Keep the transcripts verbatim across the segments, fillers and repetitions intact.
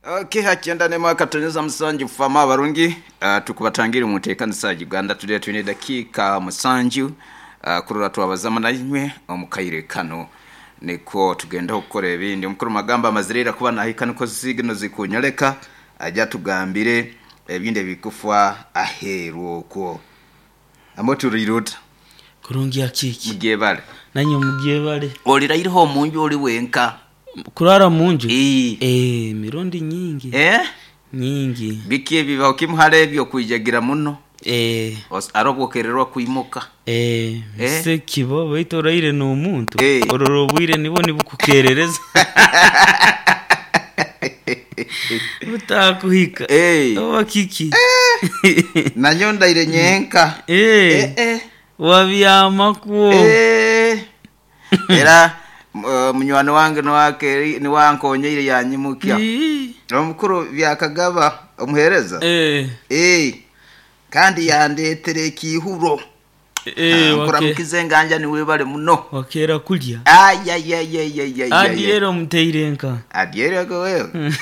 Okay, hakyenda ne mwaka tonyeza musanju fama abarungi uh, tukubatangira mu nteekanisa ya Uganda Today. Twine dakiika musanju uh, kurora twabazama nainywe omukaire kano niko tugenda okukora ebindi. Omukuru magamba amazirira kuba nahika niko zigino zikunyoleka ajja tugambire ebindi ebikufa aheeru okwo amo turiruta. Kurungi akiki. Mugyebale. Nanye mugyebale. Oliraireho omunju oli wenka? Kurara munju? Ee. Eh, mirundi nyingi. Eh? Nyingi. Biki ebibaho kimuhara ebyo kwijagira muno? Eh. Arobwokererwa kwimuka. Eh, Eh? se kibo baitu oraire n'omuntu. Eh. Orora obwire nibwo nibukukerereza. Butakuhika. Eh. Oba kiki? Eh. Nanyo ndaire nyenka. Eh. Eh, eh. Wabyamakuo. Eh. Era uh, munywani wange niwake niwankonyeire yanyimukya. Ii. Omukuru byakagaba omuhereza. Eh. Eh. Kandi yandetere ekihuro. Eh, wake. Nkuramukize nganja niwe bale muno. Wakera kulya. Ay ay ay ay ay ay. Adiero muteire nka. Adiero go wewe.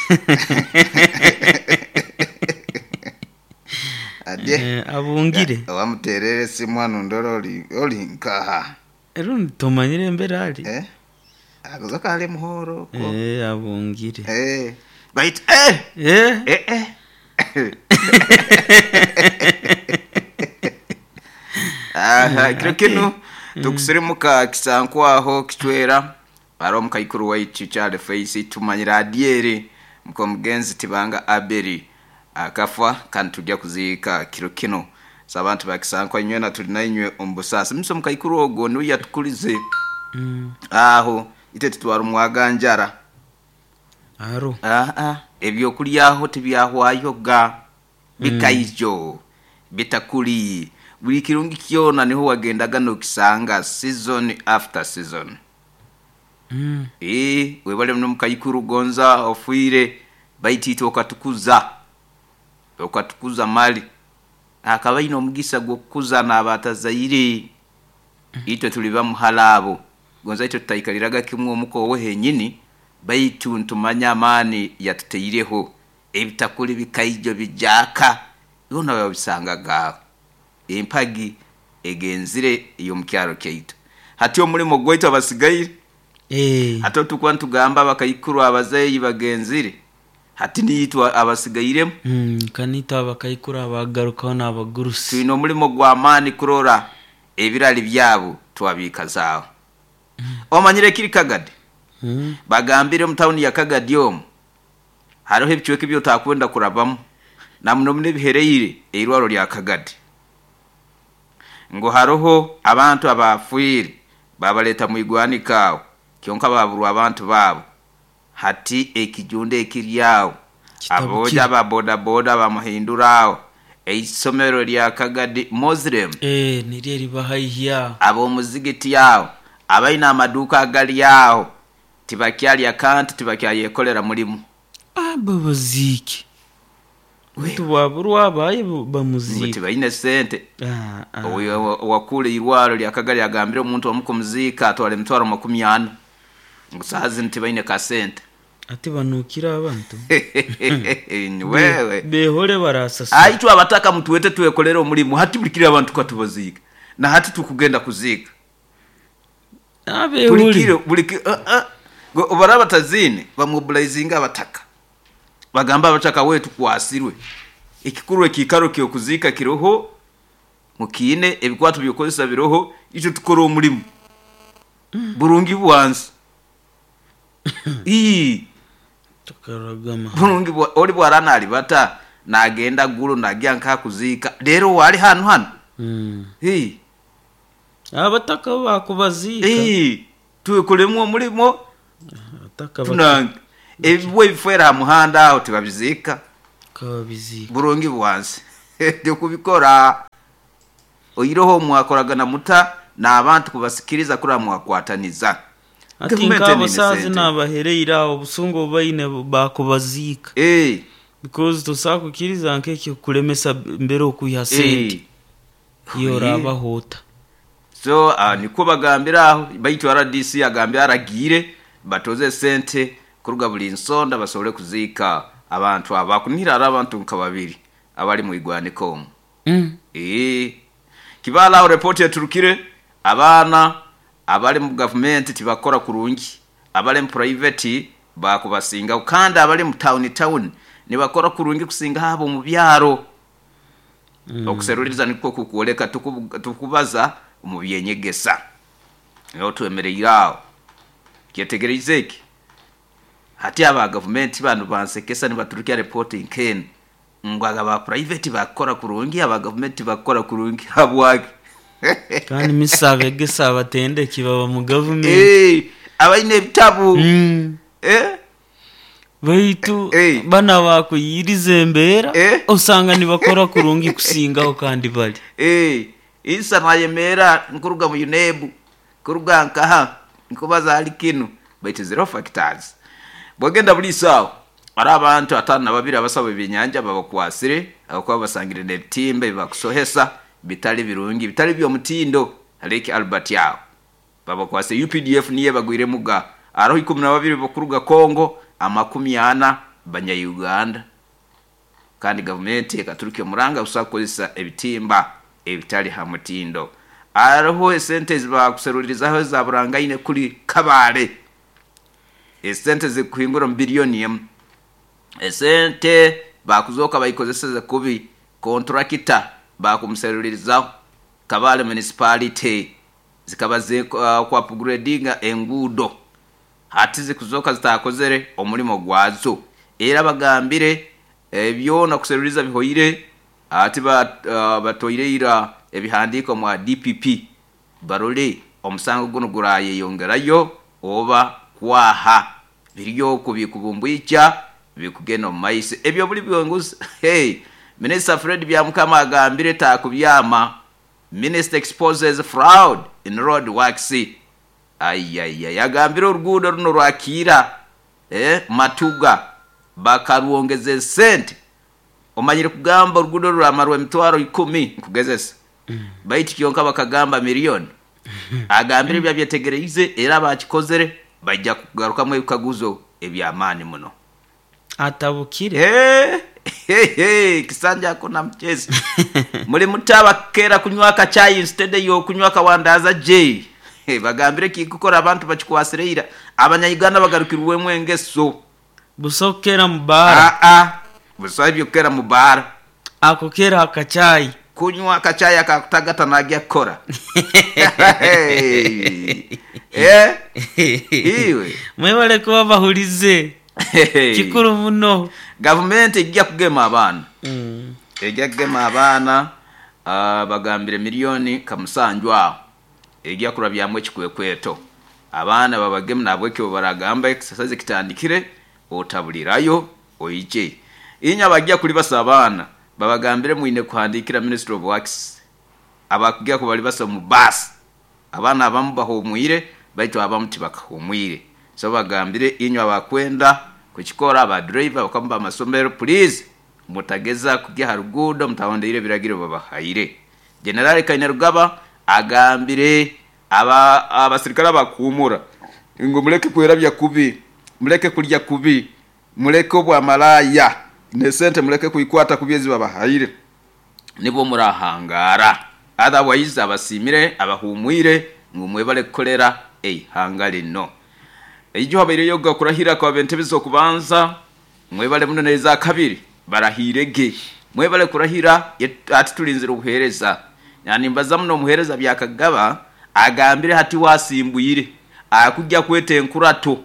Adie. Eh, abungire. Wamuterere simu hano ndoro oli oli nkaha. Ero tomanyire embere ali. Eh? Agoza kale muhoro ko. Eh, abungire. Eh. Bait eh. Eh? Eh eh. Aha, kiro kino tukusirimuka kisankwaho kichwera aro mukaikuru waitu Charles Face tumanyira adiere mko mugenzi tibanga aberi akafa kandi tujya kuziika kiro kino sabantu bakisankwa inywe na tuli nainywe ombusasi mso mukaikuru ogo niwe yatukulize. Mm. Aho ite tutwara umwaganjara Aro. ah ah ebyokulyaho tibyahwayoga bikaijo bitakuli buli kirungi kyona niho wagendaga nokisanga season after season. Mm. Eh, webale muno mukayikuru gonza ofuire baitito okatukuza okatukuza mali akaba ino omugisa gwokukuza n'abatazaire itwe tuli bamuhalabo gonza itwe tutaikaliraga kimwe omuko owe henyini baitu ntumanya amaani yatuteireho ebitakuli bikaijo bijaka byona babisangaga empagi egenzire iyo mukyaro kyaitu. Hati omulimo gwaitu abasigaire. Eh. Hati tukuba ntugamba abakaikuru abazeeyi bagenzire hati niyitwa abasigairemu. Mm, kanita abakaikuru abagarukaho n'abagurusi. Twine omulimo gw'amaani kurora ebirali byabo twabikazaaho. Mm. Omanyire kiri Kagadi? Mm. Bagambire mu tawuni ya Kagadi omu hariho ebicweka ebyotakwenda kurabamu na muno muno ebihereire eirwaro lya Kagadi ngo hariho abantu abafuire babaleta mu igwanika aho kyonka baburwa abantu babo hati ekijunda ekiryawo aboja ba boda boda bamuhindurawo eisomero lya Kagadi Muslim. Eh, niryo ribahaihya ab'omuzigiti yawo abaina amaduka agali yawo tibakyalya kanti tibakyayekolera mulimu. Abo baziki tubaburwa abaye bamuziki tibaine sente. Ah, ah. Wakule irwaro lya Kagadi agambire omuntu omukumuzika atwale emitwaro makumi ana ngusazi ntibaine ka sente. Ati banukira abantu. Wewe behore barasasa. Aitu abataka mtuwete twekolera omulimu hati bulikira abantu katubazika na hati tukugenda kuzika. Abe bulikiro bulikiro uh, uh. Obaraba tazine bamobilizinga abataka bagamba abataka wetu kwasirwe ekikuru ekikaro kyo kuzika kiroho mukine ebikwato byokozesa biroho icho tukora omulimu. Mm. Burungi bwansi. Ii tukaragama burungi bwa oli bwarana alibata nagenda gulu nagya nka kuzika lero wali hanu hanu. Mm. Hii abataka bakubazika. Eh, tukolemu omulimo abataka tunange ebibwe bifera muhanda aho tibabizika kabizika burungi bwansi ndi kubikora oyiroho mwakoragana muta n'abantu kubasikiriza kura mwakwataniza. Ati nkabo sazi nabahereira obusungu baine bakubazika. Eh, because tosakukiriza nkekyo kulemesa mbere okuya sente. Iyo rabahota. So uh, niko bagambira aho baitu R D C agambira aragire batoze sente kuruga buli nsonda basobole kuziika Abantu abakunira ari abantu nka babiri abali mu igwaniko omu. Mm. Ee, kibala aho report yaturukire, abaana abali mu gavumenti tibakora kurungi, abali mu private bakubasinga, kandi abali mu town town nibakora kurungi kusinga abo mu byaro. Mm. Okuseruliriza nikwo kukwoleka tuku- tukubaza mu byenyegesa niho twemereire aho. Kyetegereize eki hati aba gavumenti bano bansekesa nibaturukya report nk'enu ngu aba private bakora kurungi, aba gavumenti bakora kurungi, habwaki? Kandi misa abegesa abatendeki baba mu gavumenti. Eh, abaine ebitabu. Mm. Eh? Baitu Eh. bana bakuyiriza embeera Eh. osanga nibakora kurungi kusingaho kandi bali. Eh, isa nayemera nkuruga mu UNEB, kuruga nkaha nkubaza hali kinu, baitu zero factors. Bwagenda buli sawa ari abantu atano na babiri abasaba ebyenyanja babakwasire abakuba basangire n'ebitimba bibakusohesa bitali birungi, bitali by'omutindo. Lake Albert yawo babakwase. U P D F niye bagwire muga aroho ikumi na babiri bakuruga Congo, amakumi ana banya-Uganda. Kandi gavumenti ekaturuka omuranga busakozesa ebitimba ebitali ha mutindo. Aroho esente zibakuserulirizaho za burangaine kuri Kabale, esente zikuhingura mu biliyoni emu, esente bakuzoka bayikozeseze kubi, kontrakita bakumuserulirizaho Kabale municipality zikaba zi, uh, kwa upgradinga enguudo, hati zikuzoka zitakozere omulimo gwazo. Era bagambire ebyona kuseruriza bihoire, ati ba, uh, batoireira ebihandiko mwa D P P barole omusango guno gurayeyongerayo oba kwaha biriyo kubikubumbwicha bikugenda mu maisi ebyo buli byonguzi. Hey, Minister Fred Byamukama agambire takubyama. Minister exposes fraud in road works. Ayayay, agambire oruguudo runo rwakira eh, Matuga bakarwongeza sente. Omanyire kugamba oruguudo ruramarwa emitwaro ikumi nkugezesa. Mm. Baitu kyonka bakagamba miliyoni. Agambire bya byetegereize era bakikozere bajja kugarukamu ebikaguzo ebyamaani muno. Atabukire. Eh, hey, hey, kisanja hakuna mchezo. Muri mutaba kera kunywa akachai instead yo kunywa kawandaza J. Hey, bagambire kikukora abantu bakikwasireira abanyayuganda bagarukirwemu engeso. Busokera mubara. Ah ah. Busabye kera mubara. Akokera akachai. Kunywa akachai akakutagata nagia kora. Hey. Eh? Iwe. Mwebale kuba bahulize. Hey. Kikuru muno. Government ijja kugema abaana. Mm. Ijja kugema abaana, uh, bagambire milioni kamusanju aho. Ijja kurabyamu ekikwekweto. Abaana babagemu nabwekyo baragamba exercise kitandikire otabulirayo oije. Inya bajja kulibasa abaana babagambire mwine kuhandikira Ministry of Works. Abakugira ko balibasa mu bus. Abaana abamu bahumwire baitu abamu tibakahumwire. So bagambire inywa abakwenda kukikora aba driver bakamba amasomero, please mutageza kujya harugudo mutahondeire biragiro babahaire. General Kainerugaba agambire aba abasirikare bakumura ngo muleke kwerabya kubi, muleke kulya kubi, muleke obwa malaya ne sente muleke kuikwata kubyezi babahaire nibo murahangara. Otherwise abasimire abahumwire ngo mwebale kukolera eihanga lino. Ejo habaire yoga kurahira kwa bentebezo kubanza mwebale muno neza kabiri barahirege mwebale kurahira ati tulinzira obuhereza. Yani mbaza muno omuhereza byakagaba agambire hati wasimbuyire akujja kwete enkurato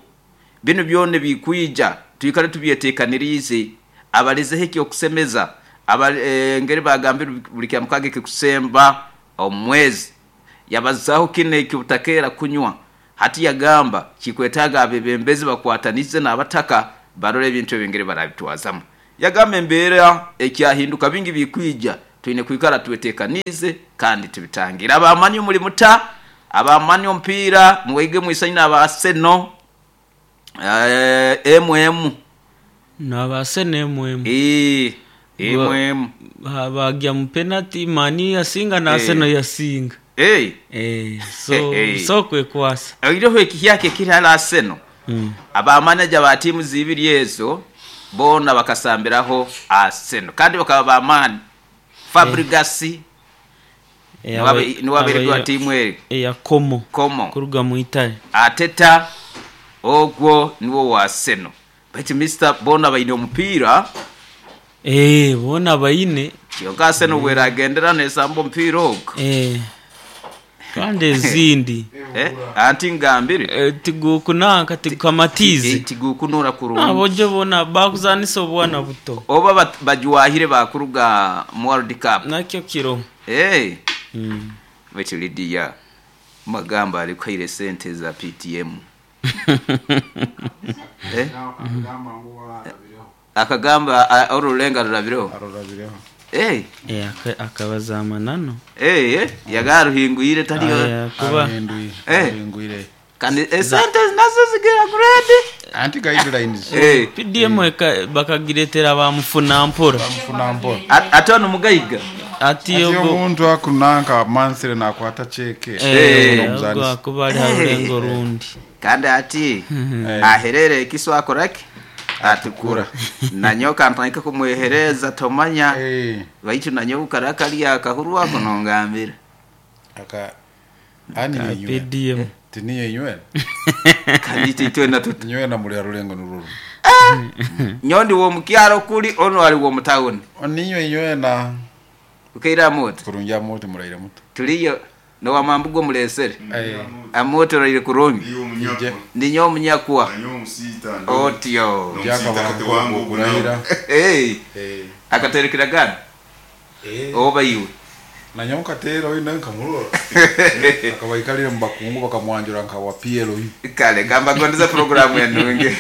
bino byone bikwija tuikale tubyetekanirize abaleze heki okusemeza abale e, ngeri bagambire buli kyamukage kikusemba omwezi yabazaho kine kibutakera kunywa. Hati yagamba kikwetaga abebembezi bakwatanize n'abataka barole ebintu ebingere barabitwazamu. Yagamba embeera ekyahinduka bingi bikwija twine kwikara twetekanize kandi tubitangira. Abamani muri muta abamani ompira mwege mwisanyina aba Arsenal eh M M na Arsenal M M eh M M bagya mu penalty mani yasinga na Arsenal yasinga. Eh eh so hey, so kwe kwasa iroho ekihyake kiri ala Arsenal. Mm. Aba manager ba timu zibiri ezo Boona bakasambiraho Arsenal kandi bakaba bamaani. Fabregas Eh, niwe niwe abeeregwa aba- tiimu eri eya Como Como. Kuruga mu Italy. Ateta ogwo niwo wa Arsenal. Baitu Mister boona baine omupiira. Eh, boona baine. Kyonka Arsenal bweragendera nesamba omupiira ogwo. Eh, kandi ezindi Eh, anti ngambire. Eh, tigukunanka tigukamatize. Tigukunura kurungi. Abojo bona bakuzanisa obwana buto. Oba bat- bajwahire bakuruga mu World Cup. Nakyo kiro. Eh, Mm. baitu Lydia magamba alikwaire sente za P T M. Eh? Akagamba ngu warabireho. Akagamba a- orulenga rurabireho. Arurabireho. Eh, Eh, aka- akabaza amanano. eh, eh, yagaruhingwire taliyo. Aya, kuba Aruhinduye. Eh. Aruhingwire. Kandi esente nazo zigira grade. Anti guidelines. Eh, P D M eka- bakagiretera bamufuna mpora. Bamufuna mpora. At- ate ono mugaiga. Ati Ati ogo omuntu akunanka mansire nakwata cheke. eh, Eh. ogo akuba ali ha rulengo rundi. Kandi ati Eh. aherere ekiso akoraki atukura nanyoka ntandika kumwehereza tomanya. Eh. Baitu nanyoka karakali akahuru ako nongambira. Aka ani Ka yenywe. P D M. Tini yenywe. Kandi titwe na tutu. Nywe na muri rulengo nururu. Nyondi wo mukyaro kuli ono ali wo mutawuni. Oninywe nywe na Ukaira moto. Kurunja moto muraire moto. Tuliyo no wamambugo mulesere. Eh. Amoto raire kurungi. Iyo munyakwa. Ninyo munyakwa. Nanyo musita. Otyo. Byakaba kurahira. Eh. Eh. Akaterekera gana. Eh. Oba iwe. Na nyoka tera oyo nkamurora. Akabaikalire mu bakungu bakamwanjura nka wa P L U. Kale gamba gondeza programu ya nunge.